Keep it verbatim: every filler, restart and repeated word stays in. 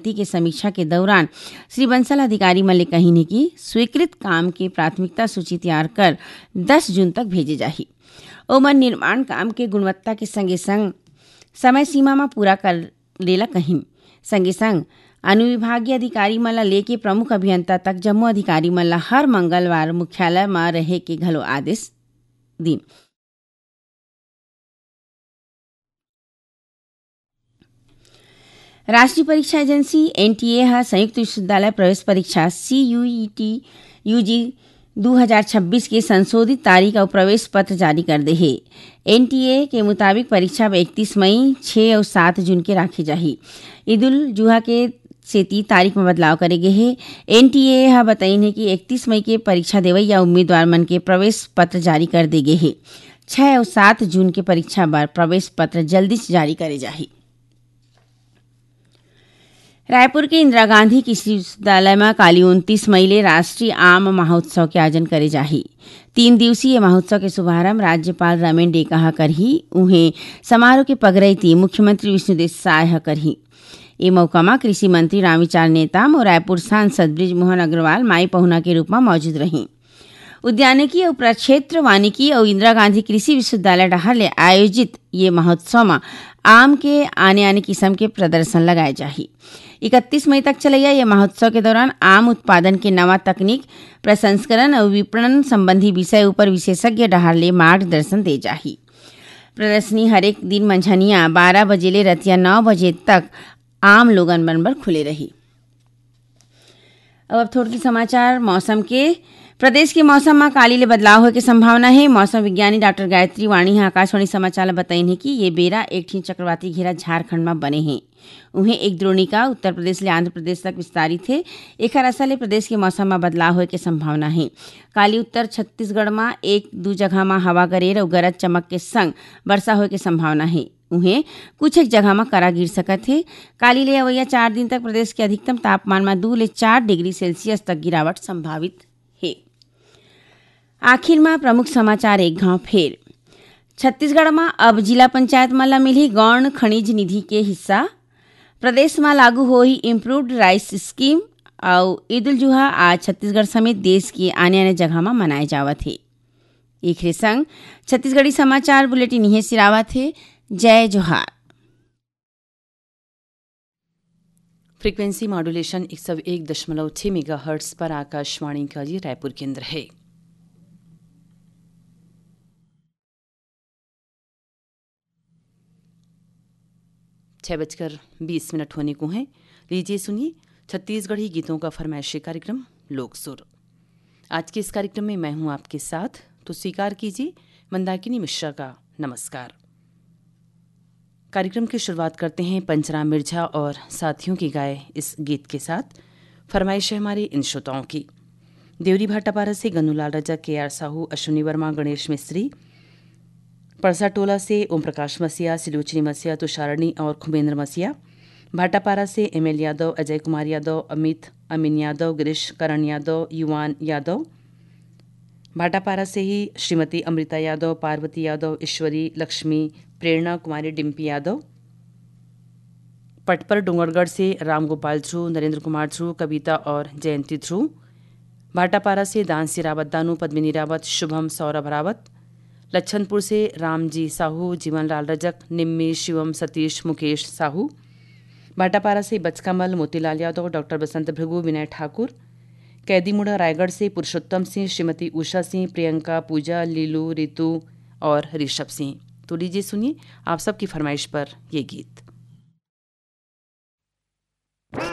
प्रगति के समीक्षा के दौरान श्री बंसल अधिकारी मन ले कहिन हे कि स्वीकृत काम के प्राथमिकता सूची तैयार कर दस जून तक भेजे जाही। ओमन निर्माण काम के गुणवत्ता के संगे संग समय सीमा म पूरा करे ला कहिन। संगे संग अनुविभागीय अधिकारी मन ला लेके प्रमुख अभियंता तक जम्मो अधिकारी मन ला हर मंगलवार मुख्यालय म रहे के घलो आदेश दिन। राष्ट्रीय परीक्षा एजेंसी, एनटीए, ह संयुक्त विश्वविद्यालय प्रवेश परीक्षा, सीयूईटी, यूजी दू हजार छब्बीस के संशोधित तारीख अउ प्रवेश पत्र जारी कर दे हे। एनटीए के मुताबिक परीक्षा इकतीस मई, छह अउ सात जून के राखे जाही। ईद उल जुहा के सेती तारीख म बदलाव करे गे हे। एनटीए ह बताइन हे कि इकतीस मई के परीक्षा देवइया उम्मीदवार मन के प्रवेश पत्र जारी कर दे गे हे। छह अउ सात जून के परीक्षा बर प्रवेश पत्र जल्दीच जारी करे जाही। रायपुर के इंदिरा गांधी कृषि विश्वविद्यालय म काली उनतीस मई ले राष्ट्रीय आम महोत्सव के आयोजन करे जाही। तीन दिवसीय महोत्सव के शुभारंभ राज्यपाल रमेन डेका ह करही। उहें, समारोह के पगरैती मुख्यमंत्री विष्णुदेव साय ह करही। ए मौका म कृषि मंत्री रामविचार नेताम अउ रायपुर सांसद बृजमोहन अग्रवाल माई पहुना के रूप म मौजूद रहीं। उद्यानिकी अउ प्रक्षेत्र वानिकी अउ इंदिरा गांधी कृषि विश्वविद्यालय डहार ले आयोजित ये महोत्सव म आम के आने-आने किसम के प्रदर्शन लगाए जाही। इकतीस मई तक चलइया ये महोत्सव के दौरान आम उत्पादन के नवा तकनीक, प्रसंस्करण अउ विपणन संबंधी विषय ऊपर विशेषज्ञ डहार ले मार्गदर्शन दे जाही। प्रदर्शनी हरेक दिन मंझनिया बारह बजे ले रतिया नौ बजे तक आम लोगन मन बर खुले रही। अब, अब थोड़की समाचार मौसम के। प्रदेश के मौसम म काली ले बदलाव होए के संभावना हे। मौसम विज्ञानी डॉक्टर गायत्री वाणी ह आकाशवाणी समाचार ल बताइन हे कि ये बेरा एक ठिन चक्रवाती घेरा झारखंड म बने हे। उहें, एक द्रोणिका उत्तर प्रदेश ले आंध्र प्रदेश तक विस्तारित हे। एखर असर ले प्रदेश के मौसम म बदलाव होए के संभावना हे। काली उत्तर छत्तीसगढ़ म एक दू जगह म हवा गरेर अउ गरज चमक के संग वर्षा होए के संभावना हे। उहें, कुछ एक जगह म करा गिर सकत हे। काली ले अवइया चार दिन तक प्रदेश के अधिकतम तापमान म दू ले चार डिग्री सेल्सियस तक गिरावट संभावित हे। आखिर म प्रमुख समाचार एक घांव फेर। छत्तीसगढ़ म अब जिला पंचायत मन ल मिलही गौण खनिज निधि के हिस्सा। प्रदेश म लागू होही इम्प्रूव्ड राइस स्कीम। अउ ईद उल जुहा आज छत्तीसगढ़ समेत देश के आने-आने जगह म मनाए जावत हे। एखरे संग छत्तीसगढ़ी समाचार बुलेटिन इहें सिरावत हे। जय जोहार। फ्रीक्वेंसी मॉड्यूलेशन एक सौ एक दशमलव छह मेगाहर्ट्ज पर आकाशवाणी का ये रायपुर केंद्र है। छह बजकर बीस मिनट होने को हैं। लीजिए, सुनिए छत्तीसगढ़ी गीतों का फरमाइशी कार्यक्रम लोक सुर। आज के इस कार्यक्रम में मैं हूं आपके साथ, तो स्वीकार कीजिए मंदाकिनी मिश्रा का नमस्कार। कार्यक्रम की शुरुआत करते हैं पंचराम मिर्झा और साथियों की गाए इस गीत के साथ। फरमाइश है हमारे इन श्रोताओं की। देवरी भाटापारा से गन्नूलाल रजक, के आर साहू, अश्विनी वर्मा, गणेश मिस्त्री, परसा टोला से ओम प्रकाश मसीहा, सिलोचनी मसीहा, तुषारणी और खुमेंद्र मसीहा, भाटापारा से एम एल यादव, अजय कुमार यादव, अमित, अमीन यादव, गिरीश करण यादव, युवान यादव, भाटापारा से ही श्रीमती अमृता यादव, पार्वती यादव, ईश्वरी, लक्ष्मी, प्रेरणा कुमारी, डिम्पी यादव, पटपर डोंगरगढ़ से रामगोपाल ध्रुव, नरेंद्र कुमार ध्रुव, कविता और जयंती ध्रुव, भाटापारा से दानसी रावत दानू, पद्मिनी रावत, शुभम, सौरभ रावत, लच्छनपुर से रामजी साहू, जीवनलाल रजक, निम्मी, शिवम, सतीश, मुकेश साहू, भाटापारा से बचकामल, मोतीलाल यादव, डॉक्टर बसंत भृगु, विनय ठाकुर, कैदीमुड़ा रायगढ़ से पुरुषोत्तम सिंह, श्रीमती उषा सिंह, प्रियंका, पूजा, लीलू, रितु और ऋषभ सिंह। तो लीजिए, सुनिए आप सबकी फरमाइश पर ये गीत।